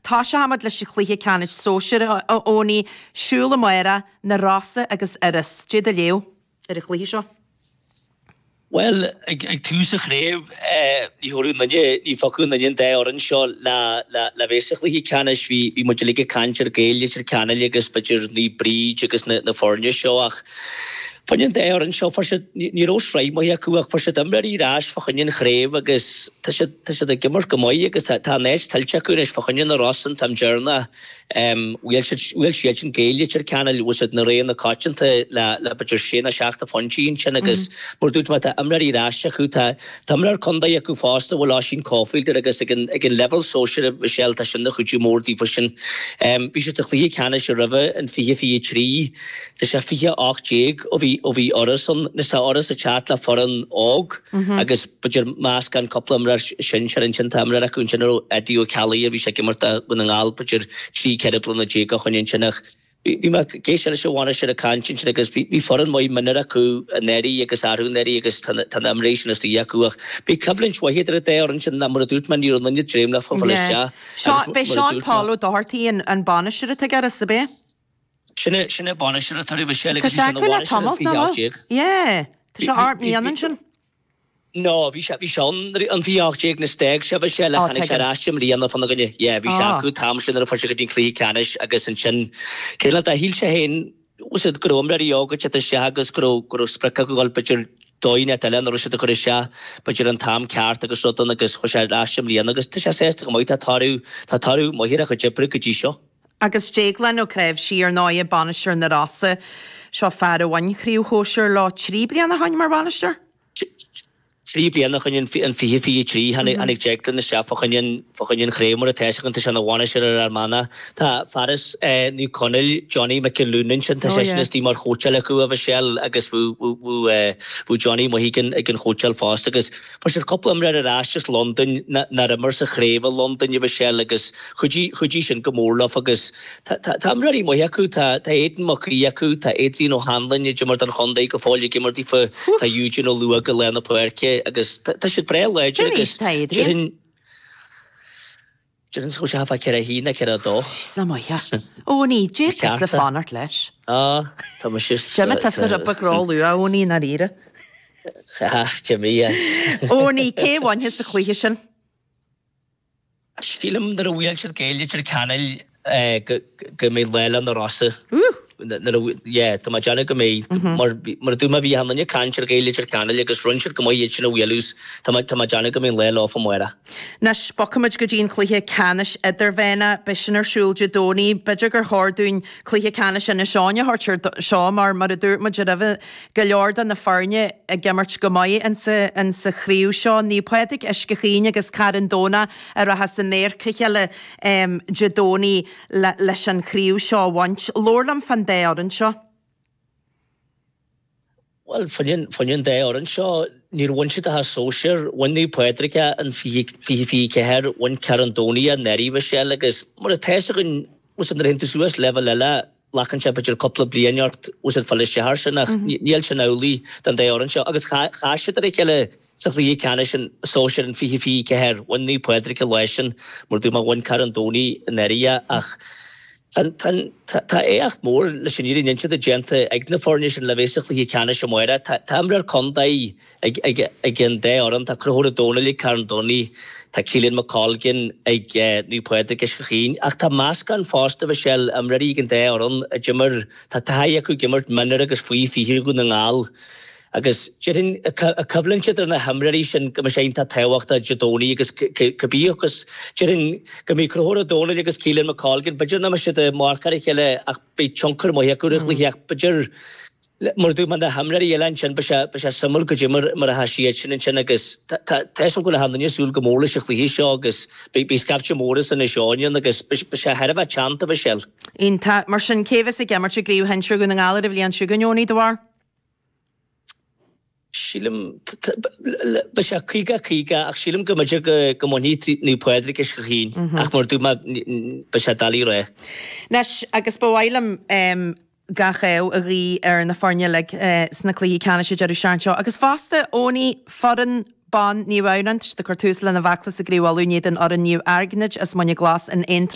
Toiseochaimid leis an chluiche ceannais sóisir, a Eoiní, siúl amárach, Na Rosa agus Iorras. Dé do léamh ar an chluiche seo. Bhuel, ag tús an chraobh, ní thabharfadh aon duine, ní phiocfadh aon duine an dá fhoireann seo le bheith sa chluiche ceannais. Bhí, bhí muid uilig ag caint ar Gaeil Leitir Ceanainn agus b'fhéidir Naomh Bríd agus na foirne seo ach fá choinne an dá fhoireann seo, fuair siad, ní raibh sraith maith acu ach fuair siad imreoirí ar ais fá choinne an chraobh agus tá siad, tá siad ag imirt go maith agus tá, tá an áit tuillte acu anois fá choinne na Rosa an t-am deireanach. Bhuail siad, bhuail siadsan Gaeil Leitir Ceanainn, bhfuil siad na rogha na coitianta le, le b'fhéidir sé nó seacht de phointí ansin agus mar dúirt mé tá imreoirí ar ais acu, tá, tá imreoir contae acu fosta a bhfuil Oisín Caulfield air agus ag an, ag an leibhéal sóisir a Mhichelle tá sin ina chuidiú mór daofa sin. Bhí siad sa chluiche ceannais roimhe in 2023, tá sé 2018 ó bhí, ó bhí Iorras ann, anois tá Iorras ag teacht le foireann óg agus b'fhéidir meascán cúpla imreoir sinsir ansin, tá imreoir acu ansin a raibh Eddie Ó Ceallaigh a bhí sé ag imirt do Dhún na nGall b'fhéidir 13 14 bliana ó shoin ansin ach bhí mé ag éisteacht leis an bhainisteoir ag caint ansin agus bhí foireann maith mionúir acu anuraidh agus arú anuraidh agus tá na imreoirí sin istigh acu ach beidh coimhlint mhaith idir an dá fhoireann sin mar a dúirt mé ní raibh aon duine ag dréim leofa fáil isteach agus Beidh Seán Paul Ó Dochartaigh an bainisteoir atá ag Iorras, ab é? Sin é, sin é bainisteoir atá roimhe sin agus bhí sé ina bhainisteoir in 2018. Yeah, tá sé ard mbliana ansin. No, bhí sé, bhí sé ann in 2018 nuair a d'fhág sé, bhí sé le, tháinig sé ar ais i mbliana fána choinne. Yeah, bhí sé acu an t-am sin nuair a fuair sé go dtí an cluiche ceannais agus ansin, cineál de, shíl sé féin, bhfuil a fhios agat, go raibh imreoirí óga ag teacht isteach agus go raibh, go raibh sprioc acu dhul b'fhéidir dóigh inteacht eile nach raibh siad ag cur isteach b'fhéidir an t-am ceart agus rud ann agus chuaigh sé ar ais i mbliana agus tá sé sásta go maith, tá toradh, tá toradh maith ar a chuid oibre go dtí seo. Agus Déaglán Ó Cnáimhsí, ar ndóigh, bainisteoir na Rosa. Seo fear a bhain craobh shóisir leo 3 bliana ó shoin mar bhainisteoir. 3 bliana ó shoin in 2023 tháinig Declan isteach fá choinne fá choinne an chraobh mar atá sé tá sé ina bhainisteoir ar Fhear Manach. Tá fear as Naomh Conaill, Johnny McAloon ansin, tá seisean istigh mar chóitseáil acu a Mhichelle agus bhí Johnny maith ag an chóitseáil fosta agus Fuair siad cúpla imreoir ar ais as Londain nár imir sa chraobh i Londain, a Mhichelle, agus chuidigh, chuidigh sin go mór leofa agus tá, tá, tá imreoirí maithe acu, tá, tá Aidan Mac Aoidh acu, tá Adrian O'Hanlon a d'imir don chontae go fóill ag imirt daofa, tá Eugene Ó Lúóg i lár na páirce agus tá, tá siad breá láidir Cén aois agus atá Adrian? déarfainn, Déarfainn go bhfuil sé fá 41 nó 42. Sea, maith. Eoiní, dé tusa fanacht leis. Á, tá mise sa. D'imigh tusa rubach róluath, a Eoiní, i ndáiríre. Ha, d'imigh, yeah. Eoiní, cé a bhainfeas sa chluiche sin? Sílim nuair a bhuail siad Gaeil Leitir Ceanainn go mbeidh lá le Na Rosa. Nuair a, yeah, tá mé ag déanamh go mbeidh, mar, mar a dúirt mé, bhí achan duine ag caint ar Ghaeil Leitir Ceanainn agus rinne siad go maith iad sin a bhualadh 's tá mé, tá mé ag déanamh go mbeidh an lá leofa amárach. Anois, bogfaimid go dtí an cluiche ceannais idirmheánach. Beidh sin ar siúl Dé Domhnaigh. B'fhéidir gur chóir dúinn cluiche ceannais Inis Eoghain a thabhairt air seo mar, mar a dúirt muid roimhe, go leor de na foirne ag imirt go maith insa, insa chraobh seo. Naomh Pádraig Uisce Chaoin agus Carn Domhnach a rachas in adharca a chéile Dé Domhnaigh. leis an chraobh seo a bhaint. Labhair liom fán dá fhoireann seo. Bhuel, fá choinne an dá fhoireann seo, níor bhain siad ach an sóisear. Bhain Naomh Pádraig é in 2024, bhain Carn Domhnach é anuraidh, Michelle, agus mar atá a fhios againn, bhfuil a fhios agat, nuair a théann tú suas leibhéal eile, glacann sé b'fhéidir cúpla bliain ort, bhfuil a fhios agat, fáil isteach air sin ach níl sin amhlaidh don dá fhoireann seo. Agus chas siad ar a chéile Sa chluiche ceannais sóisir in 2024, bhain Naomh Pádraig an lá sin, mar dúirt mé, bhain Carn Domhnaigh anuraidh é ach tá éacht mór leis an fhírinne a inse déanta ag na foirne sin le bheith sa chluiche ceannais amárach. Tá imreoir contae ag an dá fhoireann, tá Conchúr Ó Domhnaill ag Carn Domhnaigh, tá Keelan McColgan ag Naomh Pádraig Uisce Chaoin ach tá meascán fosta, Michelle, imreoirí ag an dá fhoireann a d'imir, tá taithí acu ag imirt mionúir agus faoi 20 Dhún na nGall. Agus déarfainn, an choimhlint idir na himreoirí sin go mbeidh sé iontach tábhachtach Dé Domhnaigh agus cibé agus déarfainn go mbeidh Conchúr Ó Domhnaill agus Keelan McColgan, b'fhéidir nach mbeidh siad ag marcáil a chéile ach beidh tionchar maith acu ar an chluiche ach b'fhéidir mar a dúirt mé na himreoirí eile ansin beidh sé beidh sé suimiúil goidé mar mar atá siad sin ansin agus tá tá tá fhios agam go bhfuil achan duine ag súil go mór leis an chluiche seo agus beidh beidh scaifte mór as Inis Eoghain ann agus beidh beidh sé thar a bheith teannta, a Mhichelle. Iontach. Mar sin, cé a bheas ag imirt i gCraobh Shinsir Dhún na nGall ar an bhliain seo chugainn, Eoiní, do bharúil? Sílim, beidh sé 50, 50 ach sílim go mb'fhéidir go mbainfidh Naomh Pádraig Uisce Chaoin ach mar a dúirt mé beidh sé doiligh a rá. Anois, agus ba mhaith liom gach ádh a ghuí ar na foirne uilig sna cluichí ceannais an deireadh seachtaine seo agus fosta, Eoiní, foireann ban Naomh Adhamhnáin, tá siad ag cur tús lena bhfeachtas i gCraobh Uladh in éadan fhoireann Naomh Airgnid as Muine Glas in Aontroim.